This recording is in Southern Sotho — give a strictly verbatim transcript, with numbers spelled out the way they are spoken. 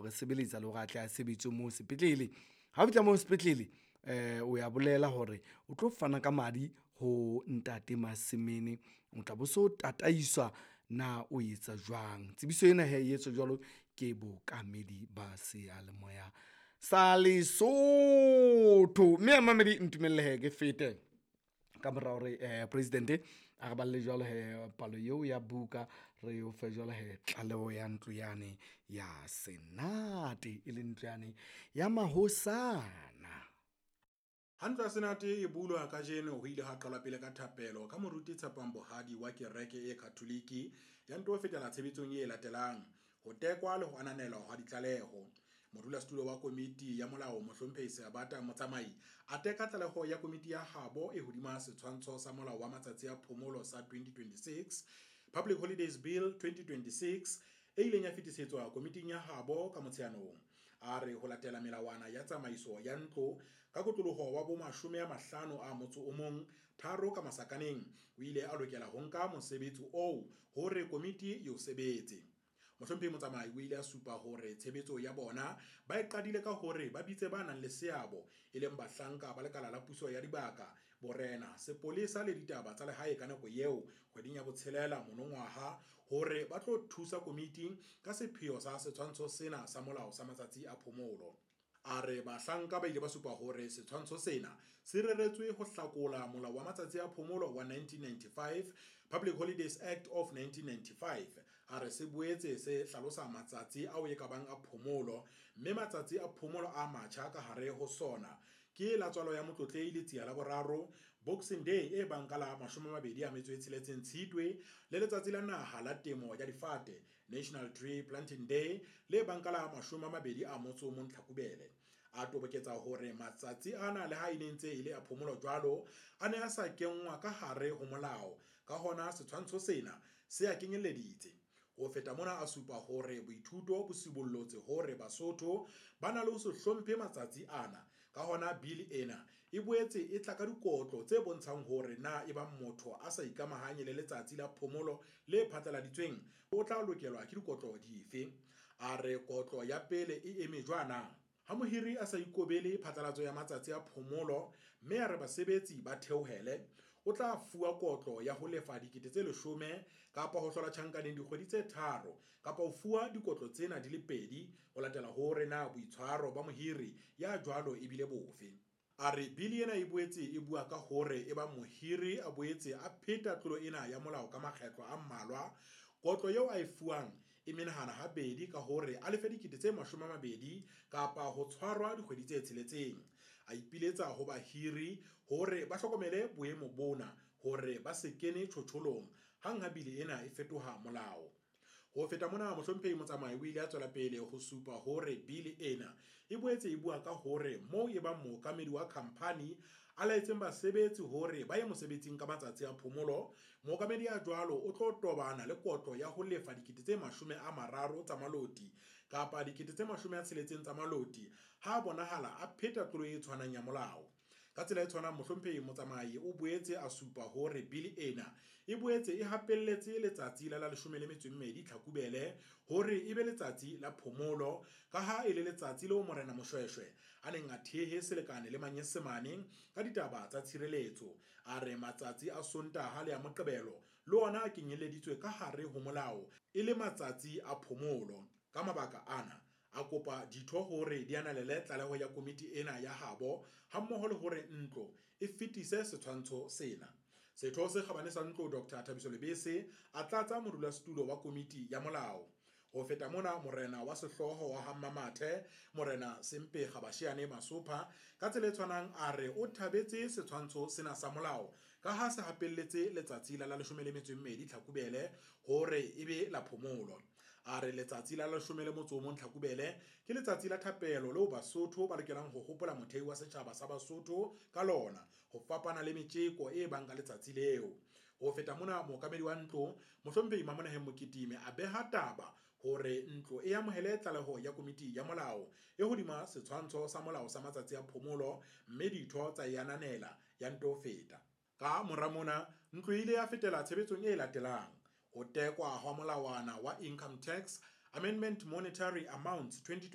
re sebeletsa le hore a tle a sebetse moo sepetlele. Ha o fihla moo sepetlele um o ya bolela hore o tlo fana ka madi ho ntate Masemene, o tla bo so tataiswa na o etsa jwang. Tsebiso ena hee e etswa jwalo ke bookamedi ba seyalemoya sa Lesotho. Mme mamedi ntumelle hee ke fete ka mora hore eh, president a re balle jwalo he palo eo ya buka, re o fe jwalo he tlaleho ya ntlo yane ya senate, e leng ntlo yane ya mahosana. Ha ntlo ya Senate e bulwa kajeno ho ile ha qalwa pele ka thapelo ka moruti Tshepang Bohadi wa kereke e Katholiki ya nto fetela tshebetsong e latelang, ho tekwa le ho ananelwa hwa ditlaleho. Modulasetulo wa komiti ya molao Mohlomphehi Seabata Motsamai a teka tlaleho ya komiti ya habo e hodima setshwantsho sa molao wa matsatsi a phomolo sa twenty twenty-six, Public Holidays Bill twenty twenty-six, e ileng ya fetisetswa komiting ya habo ka Motsheanong. A re ho latela melawana ya tsamaiso ya ntlo ka kotloloho wa bo mashome a mahlano a motso o mong tharo ka masakaneng, o ile a lokela ho nka mosebetsi oo hore komiti e o sebetse. Mohlomphehi Motsamai o ile a supa hore tshebetso ya bona ba e qadile ka hore ba bitse ba nang le seabo, e leng bahlanka ba lekala la puso ya dibaka, borena, sepolesa le ditaba tsa lehae ka nako eo kgweding ya botshelela monongwaha, hore ba tlo thusa komiti ka sepheo sa setshwantsho sena sa molao sa matsatsi a phomolo. A re bahlanka ba ile ba supa hore setshwantsho sena se reretswe ho hlakola molao wa matsatsi a phomolo wa nineteen ninety-five, Public Holidays Act of nineteen ninety-five. A re se boetse se hlalosa matsatsi ao e ka bang a phomolo, mme matsatsi a phomolo a matjha ka hare ho sona ke la tswalo ya Motlotlehi Letsia la boraro, Boxing Day e bang ka la mashome a mabedi a metso e tsheletseng Tshitwe, le letsatsi la naha la temo ya difate, National Tree Planting Day, le bang ka la mashome a mabedi a motso o mong Tlhakubele. A toboketsa hore matsatsi ana le ha e ne ntse e le a phomolo jwalo, a ne a sa kenngwa ka hare ho molao, ka hona setshwantsho sena se a kenyelleditse. Ho feta mona a supa hore boithuto bo sibollotse hore Basotho ba na le ho se hlomphe matsatsi ana, ka hona bili ena e boetse e tla ka dikotlo tse bontshang hore na ebang motho a sa ikamahanye le letsatsi la phomolo le phatlaladitsweng o tla lokelwa ke dikotlo dife. A re kotlo ya pele e eme jwana: ha mohiri a sa ikobele phatlalatso ya matsatsi a phomolo mme a re basebetsi ba theohele, o tla fuwa kotlo ya ho lefa dikete tse leshome kapa ho hlola tjhankaneng dikgwedi tse tharo kapa ho fuwa dikotlo tsena di le pedi ho latela hore na boitshwaro ba mohiri ya jwalo e bile bofe. A re bili ena e boetse e bua ka hore e ba mohiri a boetse a pheta tlolo ena ya molao ka makgetlo a mmalwa, kotlo eo a e fuwang e menahana habedi ka hore a lefe dikete tse mashome a mabedi kapa ho tshwarwa dikgwedi tse tsheletseng. A ipiletsa ho bahiri hore ba hlokomele boemo bona hore ba se kene tjhotjholong hang ha bili ena e fetoha molao. Ho feta mona, Mohlomphehi Motsamai o ile a tswela pele ho supa hore bili ena e boetse e bua ka hore moo e bang mookamedi wa khampani a laetseng basebetsi hore ba ye mosebetsing ka matsatsi a phomolo, mookamedi ya jwalo o tlo tobana le kotlo ya ho lefa dikete tse mashome a mararo tsa maloti kapa dikete tse mashome a tsheletseng tsa maloti ha bonahala a pheta tlolo e tshwanang ya molao. Ka tsela e tshwanang, Mohlomphehi Motsamai o boetse a supa hore bili ena e boetse e hapelletse letsatsi la la leshome le metso e mmedi Tlhakubele hore e be letsatsi la phomolo, ka ha e le letsatsi leo Morena Moshweshwe a neng a thehe selekane le Manyesemane ka ditaba tsa tshireletso. A re matsatsi a Sontaha le a Moqebelo le ona a kenyeleditswe ka hare ho molao e le matsatsi a phomolo. Ka mabaka ana a kopa ditho hore di ananele tlaleho ya komiti ena ya habo hammoho le hore ntlo e fetise setshwantsho sena. Setho se kgabane sa ntlo Doctor Thabiso Lebese a tlatsa modulasetulo wa komiti ya molao. Ho feta mona, morena wa sehlooho wa ha Mmamathe, Morena Sempe Kgabashiane Masopha, ka tsela e tshwanang a re o thabetse setshwantsho sena sa molao ka ha se hapelletse letsatsi la la leshome le metso e mmedi Tlhakubele hore e be la phomolo. A re letsatsi la leshome le motso o mong Tlhakubele ke letsatsi la thapelo leo Basotho ba lokelang ho hopola mothei wa setjhaba sa Basotho ka lona, ho fapana le metjeko e bang ka letsatsi leo. Ho feta mona, mookamedi wa ntlo Mohlomphehi Mamonaheng Moketime a beha taba hore ntlo e amohele tlaleho ya komiti ya molao e hodima setshwantsho sa molao sa matsatsi a phomolo, mme ditho tsa e ananela ya nto feta. Ka mora mona, ntlo e ile ya fetela tshebetsong e latelang: ho tekwa hwa molawana wa Income Tax Amendment Monetary Amounts twenty